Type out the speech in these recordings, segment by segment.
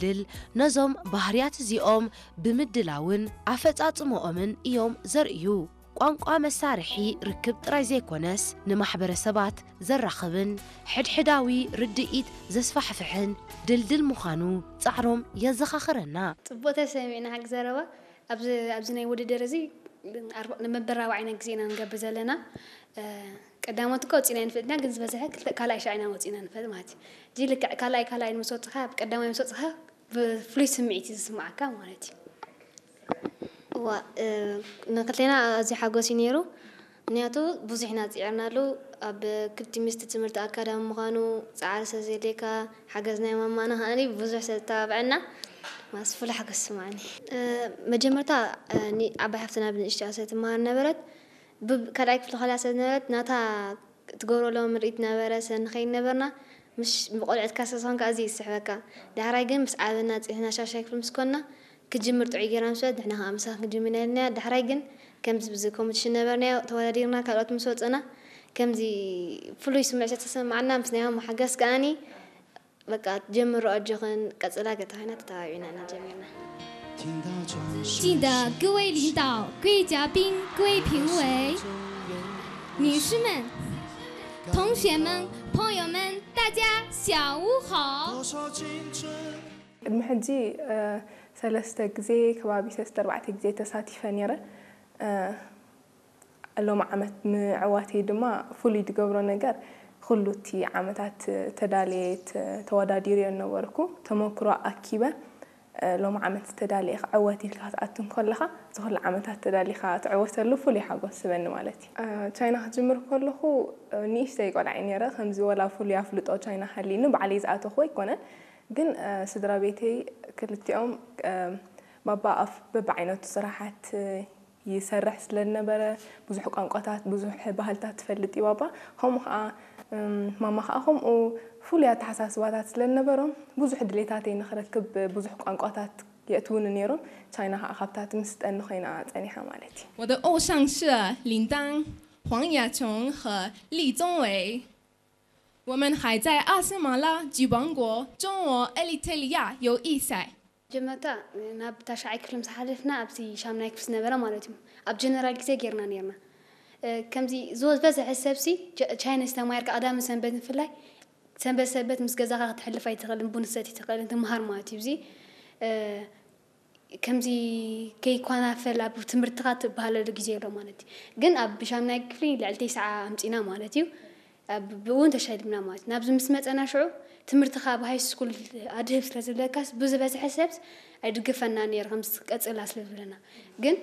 ድል ነዞም ባህርያት እዚኦም ብምድላውን ኣፈጻጽምኦምን እዮም ዘርእዩ። ቋንቋ መሳርሒ ርክብ ጥራይ ዘይኮነስ፣ ንማሕበረሰባት ዘራኽብን ሕድሕዳዊ ርድኢት ዘስፋሕፍሕን ድልድል ምዃኑ ጻዕሮም የዘኻኽረና። ጽቡቕ ተሰሚዕና ሓቂ ዘረባ። ኣብዚ ኣብዚ ናይ ውድድር እዚ ኣርባ- ንመበል ራብዓይና ግዜ ኢና ንገብር ዘለና። እ፣ ቀዳሞት እኮ ወፂና ኣይንፈልጥና፣ ግን ዝበዝሐ ክልተ ካልኣይ ሻዕ ኢና ወፂና ንፈልጥ ማለት እዩ። እዚ ልክዕ ካልኣይ ካልኣይ ምስ ወፅኻ፣ ኣብ ቀዳማይ ምስ ወፅኻ ብፍሉይ ስምዒት እዩ ዝስማዓካ ማለት እዩ። እዋ፣ እ፣ ንክልቴና ኣዝዩ ሓጎስ እዩ ነይሩ። ምክንያቱ ብዙሕ ኢና ፅዒርናሉ። ኣብ ክልቲኡ ምስቲ ትምህርቲ ኣካዳሚ ምዃኑ ፃዕሪ ስለ ዘድልየካ፣ ሓገዝ ናይ ማማና ከኣኒ ብዙሕ ስለ ዝተባብዐና፣ ማስ ፍሉይ ሓጎስ ይስማዓኒ። እ፣ መጀመርታ፣ እ፣ ኒ-፣ ዓባይ ሓፍትና ብንእሽትኣ ስለ ትመሃር ነበረት፣ ብ-፣ ካልኣይ ክፍሊ ከላ ስለ ዝነበረት፣ ናታ ትገብሮ ሎም ምርኢት ነበረ፣ ስለ ንኸይድ ነበርና። ምሽ ብቆልዕትካ ስለ ዝኾንካ ኣዝዩ ይስሕበካ። ዳሕራይ ግን ምስ ዓበና፣ ፅንሕና ሻሻይ ክፍሊ ምስ ኮንና፣ ክጅምር ጥዑይ ጌርና ምስ በለት፣ ንሕና ከዓ ምሳኻ ክንጅምር ኢና ኢልናያ። ዳሕራይ ግን ከምዚ ብዚ ኮምፒቲሽን ነበርናዮ፣ ተወዳዲርና፣ ካልኦት ምስ ወፀና፣ ከምዚ ፍሉይ ስምዒት ዝተሰማዓና፣ ምስ ናይ ማማ ሓገዝ ከኣኒ፣ በቃ ጀምሮ ኣጆኽን ቀጽላ ገታ ኮይና ተተባቢዕና ኢና ጀሚርና። 敬的各位领导、各位嘉宾、各位评委、女士们、同学们、朋友们，大家下午好。 ቅድሚ ሕጂ፣ እ፣ ሰለስተ ግዜ፣ ከባቢ ሰለስተ ኣርባዕተ ግዜ ተሳቲፈ ነይረ። እ፣ ሎሚ ዓመት ምዕዋተይ ድማ ፍሉይ ዝገብሮ ነገር፣ ኩሉ እቲ ዓመታት ተዳልየ ተ-፣ ተወዳዲረዮ ዝነበርኩ ተመክሮ ኣኪበ፣ እ፣ ሎሚ ዓመት ተዳልየ ክዕወት ኢልካ ክትኣቱ እንከለኻ፣ እዚ ኩሉ ዓመታት ተዳሊኻ ትዕወተሉ ፍሉይ ሓጎስ ዝህበኒ ማለት እዩ። እ፣ ቻይና ክጅምር ከለኹ፣ እ፣ ንእሽተይ ቆልዓ እየ ነይረ። ከምዚ ወላ ፍሉይ ኣፍልጦ ቻይና ሃልዩኒ፣ ባዕለይ ዝኣተኹ ኣይኮነን። ግን፣ እ፣ ስድራ ቤተይ ክልቲኦም፣ እ፣ ባባ ኣፍ-፣ በብዓይነቱ ስራሓት፣ እ፣ ይሰርሕ ስለ ዝነበረ፣ ብዙሕ ቋንቋታት፣ ብዙሕ ባህልታት ትፈልጥ እዩ ባባ። ከምኡ ኸዓ፣ እም፣ ማማ ኸዓ ከምኡ ፍሉይ ኣተሓሳስባታት ስለ ዝነበሮም፣ ብዙሕ ድሌታተይ ንኽረክብ ብዙሕ ቋንቋታት የእትዉኒ ነይሮም። ቻይና ኸዓ ካብታ ትምስጠኒ ኮይና ጸኒሓ ማለት እዩ። 我的偶像是林丹、黄雅琼和李宗伟。我们还在阿斯马拉吉王国中国埃利特利亚友谊赛。 መጀመርታ ናብ ታሽዓይ ክፍሊ ምስ ሓለፍና፣ ኣብቲ ሻምናይ ክፍሊ ዝነበረ ማለት እዩ፣ ኣብ ጀነራል ግዜ ጌርና ነይርና። እ፣ ከምዚ ዝበዝሐ ሰብሲ ቻ-፣ ቻይኒዝ ተማሂርካ ቀዳምን ሰንበትን ብፍላይ ሰንበት ሰንበት ምስ ገዛኻ ክትሕልፍ ኣይትኽእልን፣ ቡን ክትሰቲ ኣይትኽእልን፣ ትምሃር ማለት እዩ። እዚ፣ እ፣ ከምዚ ከይኳናፈል ኣብ ትምህርትኻ ትበሃለሉ ግዜ ኣሎ ማለት እዩ። ግን ኣብ ሻምናይ ክፍሊ ልዕሊ ተስዓ ኣምፂና ማለት እዩ። ኣብ ብኡ እውን ተሸሊምና ማለት እዩ። ናብዚ ምስ መፀና ሽዑ ትምህርትኻ ኣብ ሃይ ስኩል ኣድህብ ስለ ዝብለካስ ብዝበዝሐ ሰብስ ኣይድግፈና ነይሩ ከምዚ ቀፅላ ስለ ዝብለና። ግን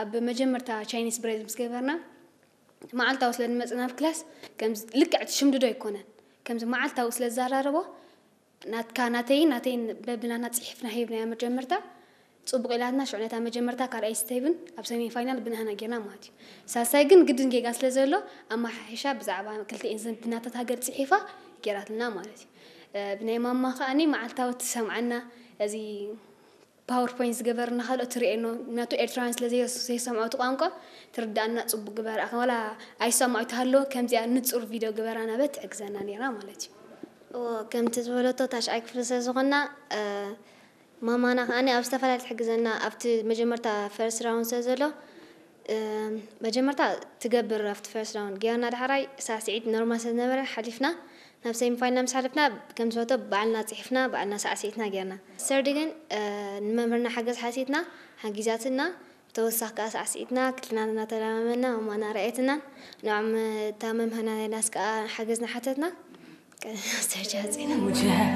ኣብ መጀመርታ ቻይኒስ ብሬዝ ምስ ገበርና መዓልታዊ ስለ ንመፅና ኣብ ክላስ ከምዚ ልክዕ እቲ ሽምድዶ ኣይኮነን ከምዚ መዓልታዊ ስለ ዝዘራረቦ ናትካ ናተይን ናተይን በብናትና ፅሒፍና ሂብናያ መጀመርታ ፅቡቕ ኢላትና ሽዑ ነታ መጀመርታ ካልኣይ ስቴብን ኣብ ሰሚ ፋይናል ብንህና ጌርና ማለት እዩ። ሳልሳይ ግን ግድን ጌጋ ስለ ዘሎ ኣመሓሒሻ ብዛዕባ ክልተኤን ዝምድናታት ሃገር ፅሒፋ ጌራትልና ማለት እዩ። ብናይ ማማ ከኣኒ መዓልታዊ ትሰምዓና እዚ ፓወርፖይንት ዝገበርና ካልኦት ትርእየኖ ምክንያቱ ኤርትራውያን ስለ ዘይሰምዖ እቲ ቋንቋ ትርድኣና ፅቡቅ ግበራ ዋላ ኣይሰምዖ ተሃለወ ከምዚኣ ንፁር ቪድዮ ግበራ ናበት ትሕግዘና ነይራ ማለት እዩ። እዎ ከምቲ ዝበለቶ ታሽዓይ ክፍሊ ስለ ዝኾንና ማማና ከዓኒ ኣብ ዝተፈላለየ ትሕግዘና ኣብቲ መጀመርታ ፈርስት ራውንድ ስለ ዘሎ መጀመርታ ትገብር ኣብቲ ፈርስት ራውንድ ጌርና ዳሕራይ ሳዕስዒት ኖርማል ስለ ዝነበረ ሓሊፍና ናብ ሰሚ ፋይናል ምስ ሓለፍና ከም ዝፈቶ ባዕልና ፅሒፍና ባዕልና ሳዕስዒትና ጌርና ሰርዲ ግን ንመምህርና ሓገዝ ሓቲትና ሓጊዛትና ብተወሳኺ ከዓ ሳዕስዒትና ክልትና እናተለማመና ማማና ረኣየትና ንዖም እታ መምህርና ናይናስ ከዓ ሓገዝና ሓተትና ሰርጂ ሓፂና